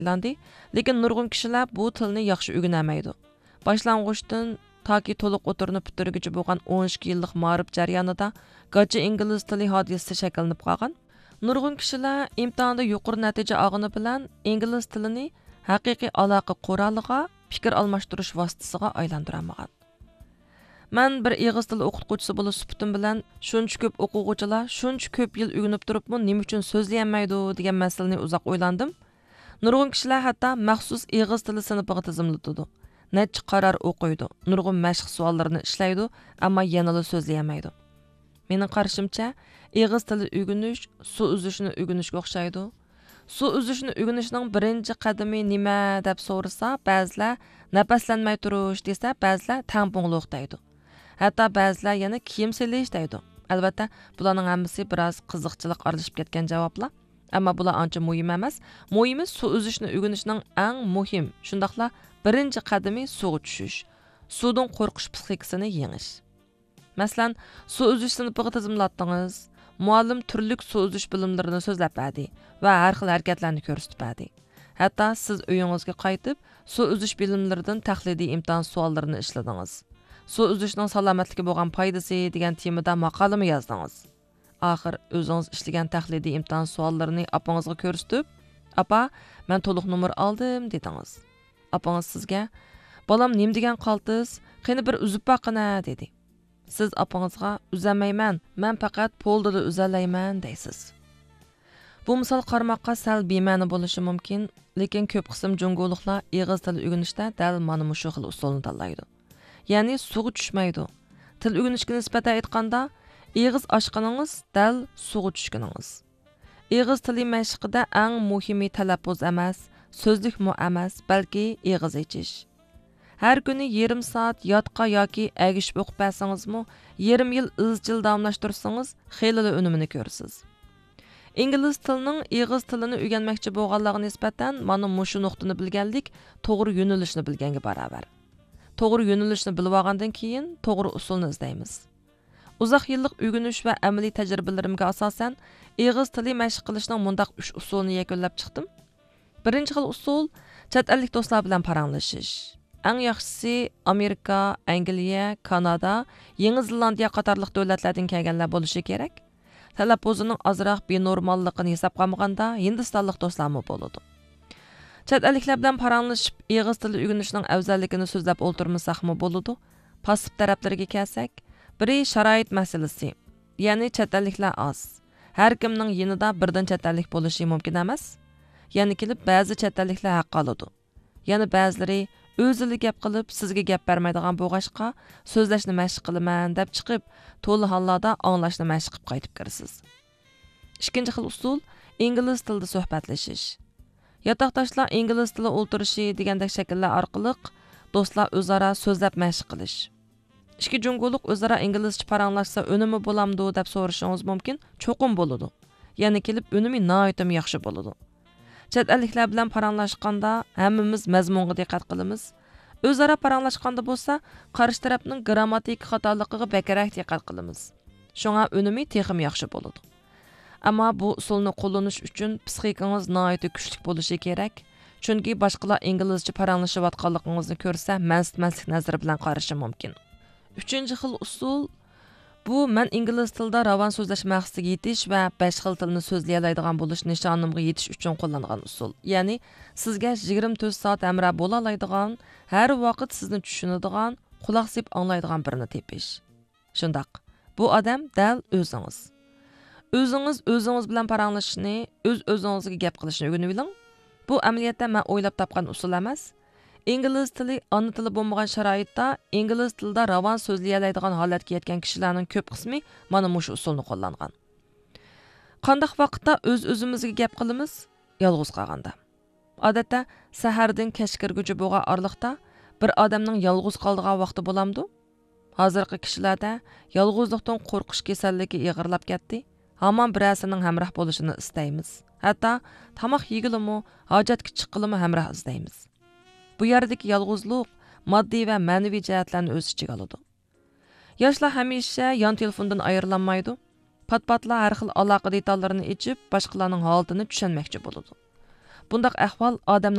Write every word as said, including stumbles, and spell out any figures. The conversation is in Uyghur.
ئايلاندى، لېكىن نۇرغۇن كىشىلەر بۇ تىلنى ياخشى ئۆگىنەلمەيدۇ. باشلانغۇچتىن تاكى تولۇق ئوتتۇرىنى پۈتتۈرگۈچە بولغان ئون ئىككى يىللىق مائارىپ جەريانىدا گاچا ئىنگلىز تىلى ھادىسىسى شەكىللىنىپ قالغان. نۇرغۇن كىشىلەر ئىمتىھاندا يۇقىرى نەتىجە ئالغىنى بىلەن ئىنگلىز تىلىنى ھەقىقىي ئالاقە قورالىغا، پىكىر ئالماشتۇرۇش ۋاسىتىسىغا ئايلاندۇرالمىغان. مەن بىر ئېغىز تىلى ئوقۇتقۇچىسى بولۇش سۈپىتىم بىلەن، شۇنچە كۆپ ئوقۇغۇچىلار شۇنچە كۆپ يىل ئۆگىنىپ تۇرۇپمۇ نېمە ئۈچۈن سۆزلىيەلمەيدۇ دېگەن مەسىلىنى ئۇزاق ئويلاندىم. نۇرغۇن كىشىلەر ھەتتا مەخسۇس ئېغىز تىلى سىنىپىغا تىزىملىتىدۇ، نەچچە قارار ئوقۇيدۇ، نۇرغۇن مەشىق سوئاللىرىنى ئىشلەيدۇ، ئەمما يەنىلا سۆزلىيەلمەيدۇ. مېنىڭ قارىشىمچە، ئېغىز تىلى ئۆگىنىش سۇ ئۈزۈشنى ئۆگىنىشكە ئوخشايدۇ. سۇ ئۈزۈشنى ئۆگىنىشنىڭ بىرىنچى قەدىمى نېمە دەپ سورىسا، بەزىلەر نەپەسلەنمەي تۇرۇش دېسە، بەزىلەر تەڭپۇڭلۇق دەيدۇ. ھەتتا بەزىلەر يەنە كىيىم سېلىش دەيدۇ. ئەلۋەتتە، بۇلارنىڭ ھەممىسى بىراز قىزىقچىلىق ئارىلىشىپ كەتكەن جاۋابلار. ئەمما بۇلار ئانچە مۇھىم ئەمەس. مۇھىمى سۇ ئۈزۈشنى ئۆگىنىشنىڭ ئەڭ مۇھىم، شۇنداقلا بىرىنچى قەدىمى سۇغا چۈشۈش. سۇدىن قورقۇش پسىخىكىسىنى يېڭىش. مەسىلەن، سۇ ئۈزۈش سىنىپىغا تىزىملاتتىڭىز، مۇئەللىم تۈرلۈك سۇ ئۈزۈش بىلىملىرىنى سۆزلەپ بەردى ۋە ھەر خىل ھەرىكەتلەرنى كۆرسىتىپ بەردى. ھەتتا سىز ئۆيىڭىزگە قايتىپ، سۇ ئۈزۈش بىلىملىرىدىن تەقلىدىي ئىمتىھان سوئاللىرىنى ئىشلىدىڭىز. سۇ ئۈزۈشنىڭ سالامەتلىككە بولغان پايدىسى دېگەن تېمىدا ماقالىمۇ يازدىڭىز. ئاخىر ئۆزىڭىز ئىشلىگەن تەقلىدىي ئىمتىھان سوئاللىرىنى ئاپىڭىزغا كۆرسىتىپ، «ئاپا، مەن تولۇق نومۇر ئالدىم» دېدىڭىز. ئاپىڭىز سىزگە، «بالام، نېمە دېگەن قالتىس؟ قېنى، بىر ئۈزۈپ باققىنە» دېدى. سىز ئاپىڭىزغا، «ئۈزەلمەيمەن، مەن پەقەت پولدىلا ئۈزەلەيمەن» دەيسىز. بۇ مىسال قارىماققا سەل بىمەنە بولۇشى مۇمكىن، لېكىن كۆپ قىسىم جۇڭگولۇقلار ئېغىز تىلى ئۆگىنىشتە دەل مانا مۇشۇ خىل ئۇسۇلنى تاللايدۇ. يەنى سۇغا چۈشمەيدۇ. تىل ئۆگىنىشكە نىسبەتەن ئېيتقاندا، ئېغىز ئاچقىنىڭىز دەل سۇغا چۈشكىنىڭىز. ئېغىز تىلى مەشىقىدە ئەڭ مۇھىمى تەلەپپۇز ئەمەس، سۆزلۈكمۇ ئەمەس، بەلكى ئېغىز ئېچىش. ھەر كۈنى يېرىم سائەت ياتقا ياكى ئەگىشىپ ئوقۇپ بەرسىڭىزمۇ، يېرىم يىل ئىزچىل داۋاملاشتۇرسىڭىز، خېلىلا ئۈنۈمىنى كۆرىسىز. ئىنگلىز تىلىنىڭ ئېغىز تىلىنى ئۆگەنمەكچى بولغانلارغا نىسبەتەن مانا مۇشۇ نۇقتىنى بىلگەنلىك توغرا يۆنىلىشنى بىلگەنگە باراۋەر. توغرا يۆنىلىشنى بىلىۋالغاندىن كېيىن، توغرا ئۇسۇلنى ئىزدەيمىز. ئۇزاق يىللىق ئۆگىنىش ۋە ئەمەلىي تەجرىبىلىرىمگە ئاساسەن، ئېغىز تىلى مەشىق قىلىشنىڭ مۇنداق ئۈچ ئۇسۇلىنى يەكۈنلەپ چىقتىم. بىرىنچى خىل ئۇسۇل، چەت ئەللىك دوستلار بىلەن پاراڭلىشىش. ئەڭ ياخشىسى، ئامېرىكا، ئەنگلىيە، كانادا، يېڭى زېلاندىيە قاتارلىق دۆلەتلەردىن كەلگەنلەر بولۇشى كېرەك. تەلەپپۇزىنىڭ ئازراق بىنورماللىقىنى ھېسابقا ئالمىغاندا، ھىندىستانلىق دوستلارمۇ بولىدۇ. چەت ئەللىكلەر بىلەن پاراڭلىشىپ، ئېغىز تىلى ئۆگىنىشنىڭ ئەۋزەللىكىنى سۆزلەپ ئولتۇرمىساقمۇ بولىدۇ. پاسسىپ تەرەپلىرىگە كەلسەك، بىرى شارائىت مەسىلىسى، يەنى چەت ئەللىكلەر ئاز. ھەر كىمنىڭ يېنىدا بىردىن چەت ئەللىك بولۇشى مۇمكىن ئەمەس. يەنە كېلىپ، بەزى چەت ئەللىكلەر ھەق ئالىدۇ. يەنە بەزىلىرى ئۆزىلا گەپ قىلىپ، سىزگە گەپ بەرمەيدىغان بولغاچقا، سۆزلەشنى مەشىق قىلىمەن دەپ چىقىپ، تولا ھاللاردا ئاڭلاشنى مەشىق قىلىپ قايتىپ كىرىسىز. ئىككىنچى خىل ئۇسۇل، ئىنگلىز تىلىدا سۆھبەتلىشىش. ياتاقداشلار ئىنگلىز تىلى ئولتۇرۇشى دېگەندەك شەكىللەر ئارقىلىق دوستلار ئۆزئارا سۆزلەپ مەشىق قىلىش. ئىككى جۇڭگولۇق ئۆزئارا ئىنگلىزچە پاراڭلاشسا ئۈنۈمى بولامدۇ دەپ سورىشىڭىز مۇمكىن، چوقۇم بولىدۇ. يەنە كېلىپ ئۈنۈمى ناھايىتىمۇ ياخشى بولىدۇ. چەت ئەللىكلەر بىلەن پاراڭلاشقاندا ھەممىمىز مەزمۇنغا دىققەت قىلىمىز. ئۆزئارا پاراڭلاشقاندا بولسا قارشى تەرەپنىڭ گىرامماتىكا خاتالىقىغا بەكرەك دىققەت قىلىمىز. شۇڭا ئۈنۈمى تېخىمۇ ياخشى بولىدۇ. ئەمما بۇ ئۇسۇلنى قوللىنىش ئۈچۈن پسىخىكىڭىز ناھايىتى كۈچلۈك بولۇشى كېرەك. چۈنكى باشقىلار ئىنگلىزچە پاراڭلىشىۋاتقانلىقىڭىزنى كۆرسە، مەنسىتمەسلىك نەزىرى بىلەن قارىشى مۇمكىن. ئۈچىنچى خىل ئۇسۇل، بۇ مەن ئىنگلىز تىلىدا راۋان سۆزلەش مەقسىتىگە يېتىش ۋە بەش خىل تىلنى سۆزلىيەلەيدىغان بولۇش نىشانىمغا يېتىش ئۈچۈن قوللانغان ئۇسۇل. يەنى سىزگە يىگىرمە تۆت سائەت ھەمراھ بولالايدىغان، ھەر ۋاقىت سىزنى چۈشىنىدىغان، قۇلاق سېلىپ ئاڭلايدىغان بىرىنى تېپىش. شۇنداق، بۇ ئادەم دەل ئۆزىڭىز. ئۆزىڭىز ئۆزىڭىز بىلەن پاراڭلىشىشنى، ئۆز ئۆزىڭىزگە گەپ قىلىشنى ئۆگىنىۋېلىڭ. بۇ ئەمەلىيەتتە مەن ئويلاپ تاپقان ئۇسۇل ئەمەس. ئىنگلىز تىلى ئانا تىلى بولمىغان شارائىتتا ئىنگلىز تىلىدا راۋان سۆزلىيەلەيدىغان ھالەتكە يەتكەن كىشىلەرنىڭ كۆپ قىسمى مانا مۇشۇ ئۇسۇلنى قوللانغان. قانداق ۋاقىتتا ئۆز ئۆزىمىزگە گەپ قىلىمىز؟ يالغۇز قالغاندا. ئادەتتە سەھەردىن كەچ كىرگۈچە بولغان ئارىلىقتا بىر ئادەمنىڭ يالغۇز قالىدىغان ۋاقتى بولامدۇ؟ ھازىرقى كىشىلەردە يالغۇزلۇقتىن قورقۇش كېسەللىكى ئېغىرلاپ كەتتى. ھامان بىرەرسىنىڭ ھەمراھ بولۇشىنى ئىستەيمىز. ھەتتا تاماق يېگىلىمۇ، ھاجەتكە چىققىلىمۇ ھەمراھ ئىزدەيمىز. بۇ يەردىكى يالغۇزلۇق ماددىي ۋە مەنىۋى جەھەتلەرنى ئۆز ئىچىگە ئالىدۇ. ياشلار ھەمىشە يان تېلېفوندىن ئايرىلالمايدۇ. پات-پاتلا ھەر خىل ئالاقە دېتاللىرىنى ئېچىپ، باشقىلارنىڭ ھالىتىنى چۈشەنمەكچى بولىدۇ. بۇنداق ئەھۋال ئادەمنى